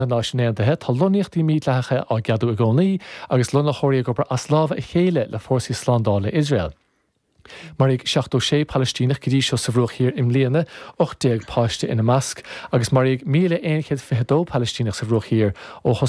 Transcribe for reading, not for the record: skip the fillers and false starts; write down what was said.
Na Náisiún Aontaithe, tá lonnaíochtaí mídhleathacha á gceadú i gcónaí agus lonnaitheoirí ag obair as lámha a chéile le fórsaí slándála Iosrael. Maraíodh 76 Palaistíneach go dtí seo sa Bhruach Thiar i mbliana, 18 páiste ina measc, agus maraíodh 1,122 Palaistíneach sa Bhruach Thiar ó.